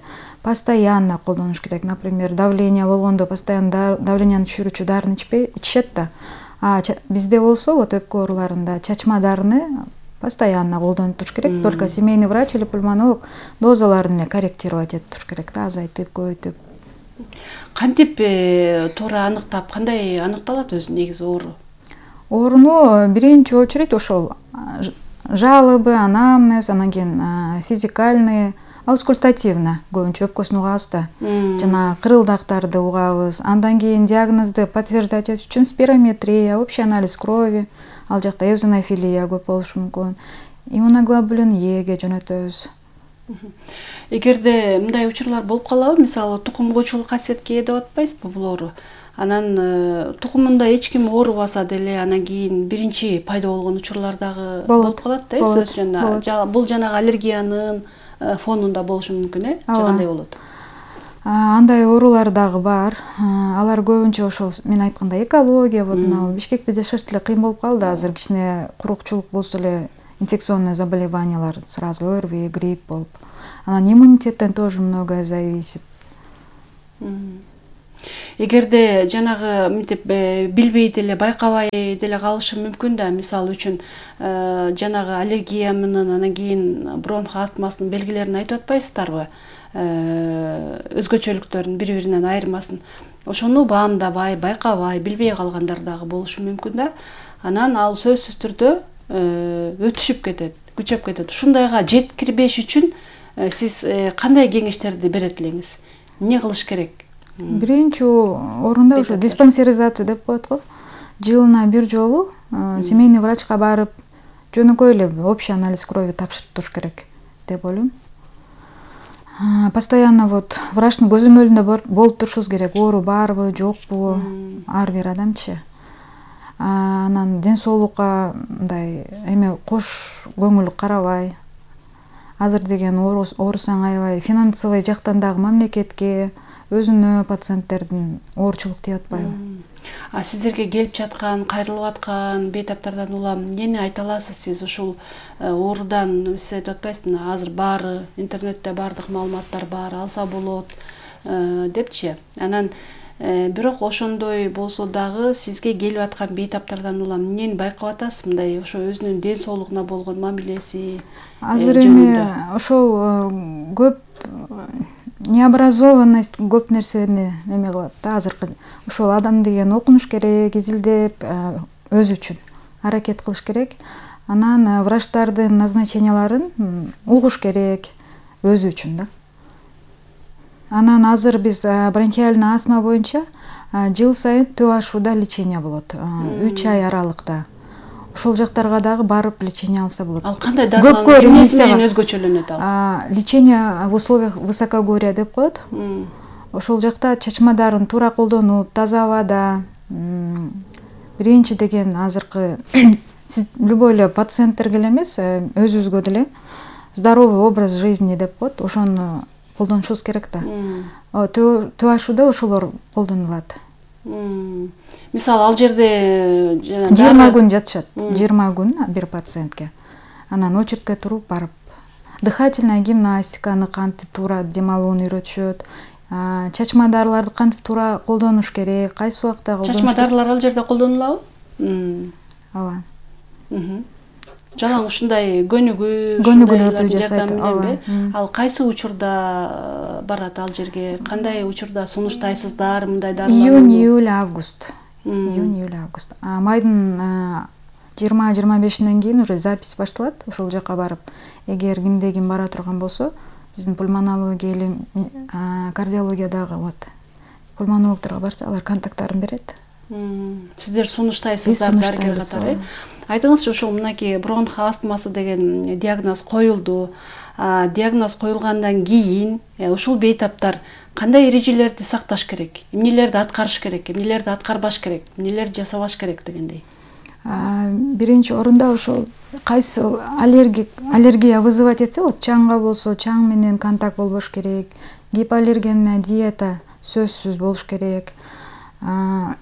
постоянно колдонуш керек. Например, давление болгондо постоянно давленияны түшүрүүчү дарыны ичпей ичишет да. А бизде болсо, вот өпкө ооруларында чачма дарыны постоянно колдонуп туруш керек. Только семейный врач или пульмонолог дозаларын корректировать этип туруш керек да, азайтып, көбөйтүп. Кантип туура аныктап, кандай аныкталат өзү негизи оору? Ооруну биринчи очередь ошол жалобы, анамнез, анан кийин физикальный, аускультативно көбүнчө өпкөсүн угабыз да. Жана кырылдактарды угабыз. Андан кийин диагнозду подтверждать этиш үчүн спирометрия, общий анализ крови, ал жакта эозинофилия көп болушу мүмкүн. Иммуноглобулин Е-ге жөнөтөбүз. Эгерде мындай учурлар болуп калабы, мисалы тукум коочулук касиетке ээ деп атпайсызбы бул оору? Анан тукумунда эч ким оорубаса деле, анан кийин биринчи пайда болгон учурлар дагы болуп калат да, сөз жана бул жанагы аллергиянын фонунда болушу мүмкүн, э? Же кандай болот? Андай оорулар дагы бар. Алар көбүнчө ошол мен айткандай экология, вот мына Бишкекте жашаш деле кыйын болуп калды. Азыр кичине курукчулук болсо эле инфекционный заболеваниялар сразу ОРВИ, грипп болуп. Анан иммунитеттен тоже многое зависит. Эгерде жанагы мынтип билбей деле, байкабай деле калышы мүмкүн да, мисалы үчүн жанагы аллергия менен анан кийин бронх астмасынын белгилерин айтып атпайсыздарбы? Өзгөчөлүктөрүн бири-биринен айырмасын. Ошону баамдабай, байкабай, билбей калгандар дагы болушу мүмкүн да. Анан ал сөзсүз түрдө өтүшүп кетет, күчөп кетет. Ушундайга жеткирбеш үчүн сиз кандай кеңештерди берет элеңиз? Эмне кылыш керек? Биринчи орунда ошо диспансеризация деп коет го. Жылына бир жолу семейный врачка барып, жөнөкөй эле общий анализ крови тапшырып туруш керек деп ойлойм. Постоянно вот врачтын көзөмөлүндө болуп турушубуз керек. Оору барбы, жокпу, ар бир адамчы. Анан ден соолукка мындай эме кош көңүл карабай. Азыр деген оорусаң аябай финансовый жактан дагы мамлекетке, өзүнө пациенттердин оорчулук тийип атпайбы? А сиздерге келип жаткан, кайрылып аткан бейтаптардан улам эмнени айта аласыз сиз? Ушул оорудан сиз айтып атпайсызбы, азыр баары интернетте баардык маалыматтар бар, алса болот депчи. Анан бирок ошондой болсо дагы сизге келип аткан бейтаптардан улам эмнени байкап атасыз? Мындай ошо өзүнүн ден соолугуна болгон мамилеси. Азыр эми ошол көп необразованность көп нерсени эме кылат да. Азыркы ошол адам деген окунуш керек, изилдеп, өзү үчүн аракет кылыш керек. Анан врачтардын назначенияларын угуш керек өзү үчүн да. Анан азыр биз бронхиальный астма боюнча жыл сайын төп ашууда лечение болот. үч ай аралыкта. Ошол жактарга дагы барып лечение алса болот. Ал кандай дарылар менен өзгөчөлөнөт ал? Лечение в условиях высокогорья деп коет. Ошол жакта чачма дарын туура колдонуп, таза абада, биринчи деген азыркы любой эле пациенттерге эле эмес, өзүбүзгө деле здоровый образ жизни деп коет. Ошону колдонушубуз керек да. Төп ашууда ошолор колдонулат. Мисалы ал жерде жыйырма күн жатышат. жыйырма күн бир пациентке. Анан очередке туруп барып дыхательная гимнастиканы кантип туура дем алууну үйрөтүшөт. Чачма дарыларды кантип туура колдонуш керек, кайсы убакта колдонуш керек. Чачма дарылар ал жерде колдонулабы? Ооба. Жалаң ушундай көнүгүү, көнүгүүлөрдү жасайт. Ал кайсы учурда барат ал жерге? Кандай учурда сунуштайсыздар мындай дарыларды? Июнь, июль, август. июнь июль август. А майдын жыйырма жыйырма бешинен кийин уже запись башталат. Ошол жака барып, эгер кимде ким бара турган болсо, биздин пульмонология или кардиологиядагы вот пульмонологдорго барса, алар контакттарын берет. Сиздер сунуштайсыздар дарыгер катары. Айтыңызчы, ушул мынакей бронх астмасы деген диагноз коюлду. Диагноз коюлгандан кийин ушул бейтаптар кандай эрежелерди сакташ керек, эмнелерди аткарыш керек, эмнелерди аткарбаш керек, эмнелерди жасабаш керек дегендей. Биринчи орунда ошол кайсы аллергик аллергия вызывать этсе, вот чаңга болсо, чаң менен контакт болбош керек, гипоаллергенная диета сөзсүз болуш керек.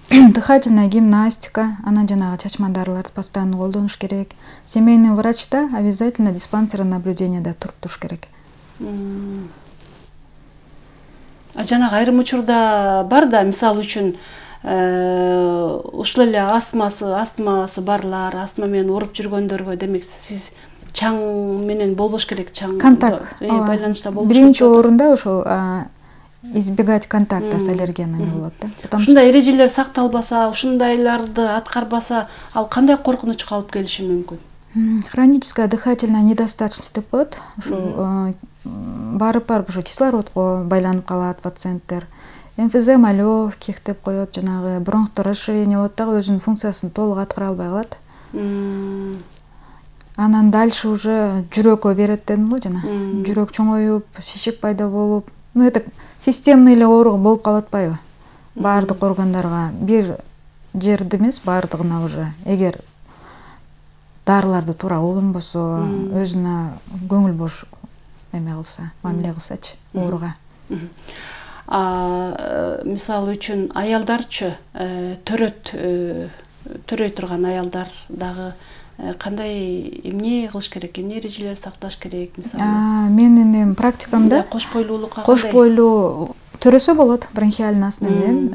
Дыхательная гимнастика, анан жанагы чачма дарыларды постоянно колдонуш керек. Семейный врачта обязательно диспансерный наблюдениеда туруп туруш керек. А жанагы айрым учурда бар да, мисалы үчүн ушул эле астмасы, астмасы барлар, астма менен ооруп жүргөндөргө, демек сиз чаң менен болбош керек, чаң контакт байланышта болбош керек. Биринчи орунда ошол избегать контакта с аллергенами болот да. Ушундай эрежелер сакталбаса, ушундайларды аткарбаса, ал кандай коркунучка алып келиши мүмкүн? Хроническая дыхательная недостаточность деп коет. Ошол барып барып ошо кислородго байланып калат пациенттер. Эмфизема легких деп коет, жанагы бронхтор расширение болот дагы, өзүнүн функциясын толук аткара албай калат. Анан дальше уже жүрөккө берет дедим го жана. Жүрөк чоңоюп, шишик пайда болуп, ну это системный эле оору болуп калып атпайбы? Баардык органдарга бир жерде эмес, баардыгына уже эгер дарыларды туура колдонбосо, өзүнө көңүл бош эме кылса, мамиле кылсачы ооруга. Мисалы үчүн аялдарчы, төрөт төрөй турган аялдар дагы кандай эмне кылыш керек, эмне эрежелерди сакташ керек, мисалы? Менин практикамда кош бойлуулукка кош бойлуу төрөсө болот, бронхиальный астма менен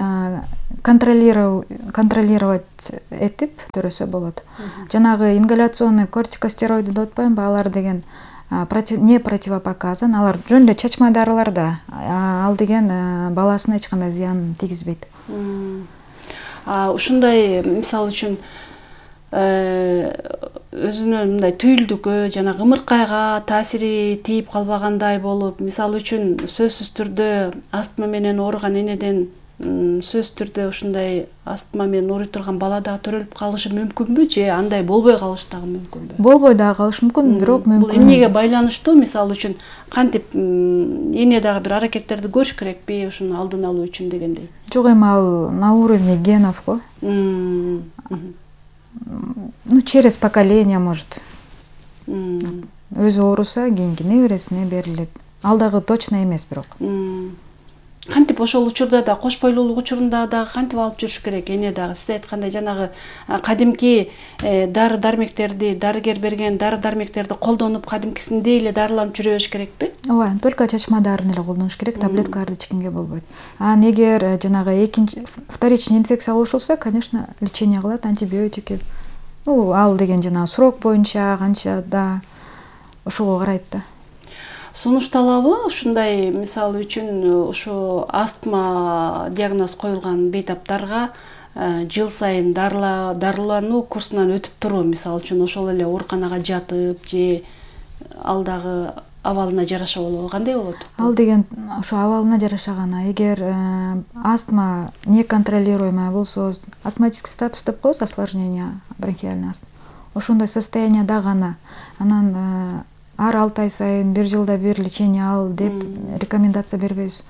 контролировать этип төрөсө болот. Жанагы ингаляционный кортикостероиды деп атпаймынбы, алар деген не противопоказан, алар жөн эле чачма дарылар да, ал деген баласына эч кандай зыян тийгизбейт. Ушундай, мисалы үчүн өзүнүн мындай түйүлдүккө жана ымыркайга таасири тийип калбагандай болуп, мисалы үчүн сөзсүз түрдө астма менен ооруган энеден сөзсүз түрдө ушундай астма менен ооруй турган бала дагы төрөлүп калышы мүмкүнбү, же андай болбой калышы дагы мүмкүнбү? Болбой дагы калышы мүмкүн, бирок мүмкүн. Бул эмнеге байланыштуу? Мисалы үчүн кантип эне дагы бир аракеттерди көрүш керекпи ушуну алдын алуу үчүн дегендей? Жок, эми ал на уровне генов го. Ну, через поколение, может. Өзү ооруса, кийинки небересине берилип. Ал дагы точно эмес бирок. Кантип ошол учурда да, кош бойлуулук учурунда дагы кантип алып жүрүш керек? Эне дагы сиз айткандай жанагы кадимки дары дармектерди, дарыгер берген дары дармектерди колдонуп, кадимкисиндей эле дарыланып жүрөбүш керекпи? Ооба, только чачма дарын эле колдонуш керек, таблеткаларды ичкенге болбойт. А эгер жанагы экинчи вторичный инфекция болушулса, конечно, лечение кылат, антибиотики. Ну, ал деген жанагы срок боюнча канча да ошого карайт да. Сунушталабы ушундай, мисалы үчүн ушу астма диагноз коюлган бейтаптарга жыл сайын дарылануу курсунан өтүп туруу, мисалы үчүн ошол эле ооруканага жатып же ал дагы абалына жараша болобу, кандай болот? Ал деген ошо абалына жараша гана. Эгер астма неконтролируемая болсо, астматический статус деп коебуз, осложнение бронхиальный астма. Ошондой состоянияда гана анан ар алты ай сайын, бир жылда бир лечение ал деп рекомендация бербейбиз.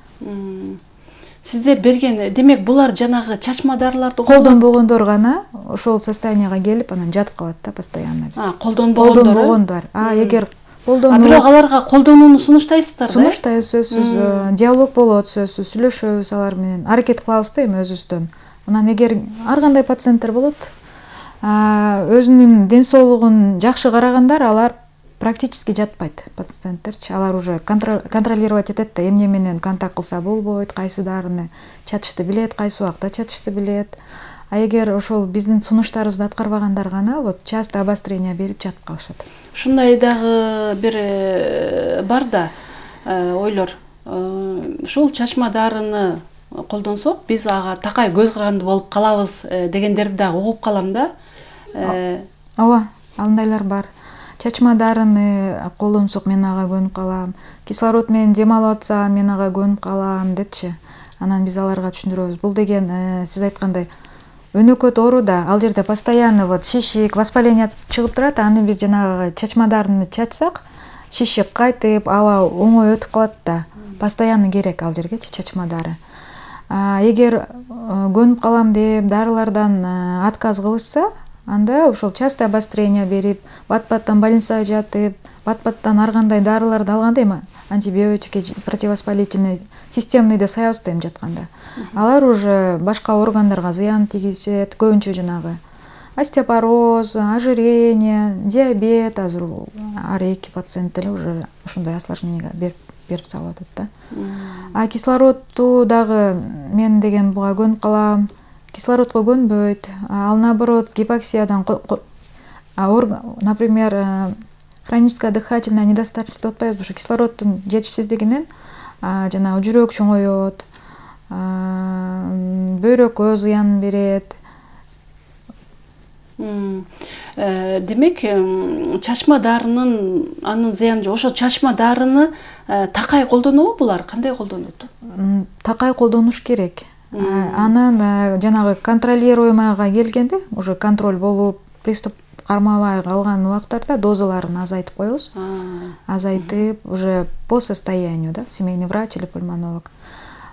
Сиздер берген, демек булар жанагы чачма дарыларды колдонбогондор гана ошол состоянияга келип, анан жатып калат да постоянно биз. А, колдонбогондор. Колдонбогондор. А эгер колдонуу. А бирок аларга колдонууну сунуштайсыздар да? Сунуштайбыз, сөзсүз. Диалог болот, сөзсүз сүйлөшөбүз алар менен. Аракет кылабыз да эми өзүбүздөн. Анан эгер ар кандай пациенттер болот, өзүнүн ден соолугун жакшы карагандар, алар практически жатпайт пациенттерчи. Алар уже контролировать этет да, эмне менен контакт кылса болбойт, кайсы дарыны чачышты билет, кайсы убакта чачышты билет. А эгер ошол биздин сунуштарыбызды аткарбагандар гана вот часто обострение берип жатып калышат. Ушундай дагы бир бар да ойлор. Ушул чачма дарыны колдонсок биз ага такай көз каранды болуп калабыз дегендерди дагы угуп калам да. Ооба, андайлар бар. Чачма дарыны колдонсок мен ага көнүп калам. Кислород менен дем алып атсам мен ага көнүп калам депчи. Анан биз аларга түшүндүрөбүз. Бул деген сиз айткандай өнөкөт оору да, ал жерде постоянно вот шишик, воспаление чыгып турат. Аны биз жанагы чачма дарыны чачсак, шишик кайтып, аба оңой өтүп калат да. Постоянно керек ал жергечи чачма дары. Эгер көнүп калам деп дарылардан отказ кылышса, анда ошол частое обострение берип, бат-баттан больницага жатып, бат-баттан ар кандай дарыларды алганда, эми антибиотики, противовоспалительный, системныйды саябызда эми жатканда. Алар уже башка органдарга зыян тийгизет, көбүнчө жанагы остеопороз, ожирение, диабет, азыр ар эки пациент деле уже ушундай осложнениеге берип берип салып атат да. А кислородду дагы мен деген буга көнүп калам, кислородко көнбөйт. Ал наоборот гипоксиядан, например, хроническая дыхательная недостаточность деп атпайбызбы, ошо кислороддун жетишсиздигинен жана жүрөк чоңоет, бөйрөккө зыян берет. Демек, чачма дарынын анын зыяны жок. Ошо чачма дарыны такай колдонобу булар? Кандай колдонот? Такай колдонуш керек. Анан жанагы контролируемыйга келгенде, уже контроль болуп, приступ кармабай калган убактарда дозаларын азайтып коебуз. Азайтып, уже по состоянию, да, семейный врач или пульмонолог.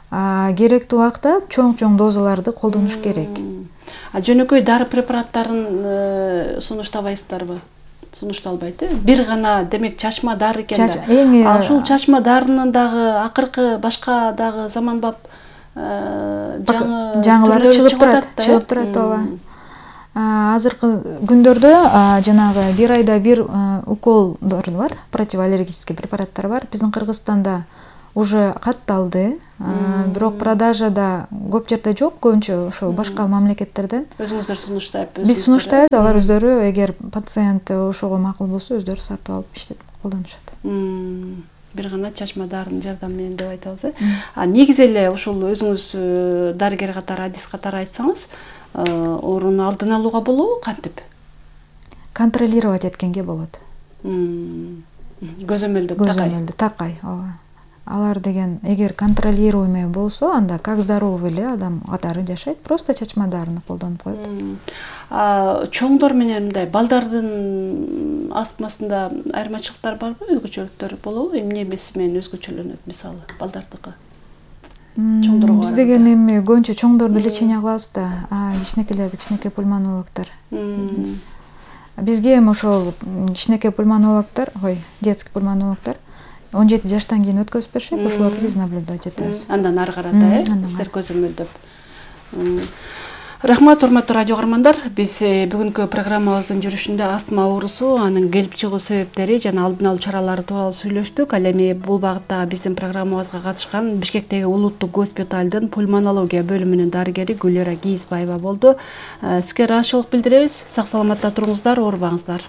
Керектүү убакта чоң-чоң дозаларды колдонуш керек. А жөнөкөй дары препараттарын сунуштабайсыздарбы? Сунушталбайт э? Бир гана, демек, чачма дары экен да. Ушул чачма дарынын дагы акыркы башка дагы заманбап жаңылары чыгып турат, чыгып турат ооба. Азыркы күндөрдө жанагы бир айда бир уколдор бар, противоаллергический препараттар бар. Биздин Кыргызстанда уже катталды, бирок продажада көп жерде жок, көбүнчө ошол башка мамлекеттерден. Өзүңүздөр сунуштайбы? Биз сунуштайбыз, алар өздөрү эгер пациент ошого макул болсо, өздөрү сатып алып иштеп колдонушат. Бир гана чачма дарынын жардамы менен деп айтабыз э. А негизи эле ушул өзүңүз дарыгер катары, адис катары айтсаңыз, ооруну алдын алууга болобу, кантип? Контролировать эткенге болот. Көзөмөлдөп такай. Көзөмөлдө такай, ооба. Алар деген эгер контролируемый болсо, анда как здоровый эле адам катары жашайт, просто чачма дарыны колдонуп коет. Чоңдор менен мындай балдардын астмасында айырмачылыктар барбы, өзгөчөлүктөр болобу? Эмне эмеси менен өзгөчөлөнөт, мисалы, балдардыкы? Чоңдорго биз деген эми көбүнчө чоңдорду лечение кылабыз да, кичинекейлерди кичинекей пульмонологдор. Бизге эми ошол кичинекей пульмонологдор, ой, детский пульмонологдор он жети жаштан кийин өткөзүп беришет, ошолорду биз наблюдать этебиз. Андан ары карата, э, сиздер көзөмөлдөп. Рахмат, урматтуу радио каармандар. Биз бүгүнкү программабыздын жүрүшүндө астма оорусу, анын келип чыгуу себептери жана алдын алуу чаралары тууралуу сүйлөштүк. Ал эми бул багытта биздин программабызга катышкан Бишкектеги улуттук госпиталдын пульмонология бөлүмүнүн дарыгери Гүлера Кийизбаева болду. Сизге ыраазычылык билдиребиз. Сак саламатта туруңуздар, оорубаңыздар.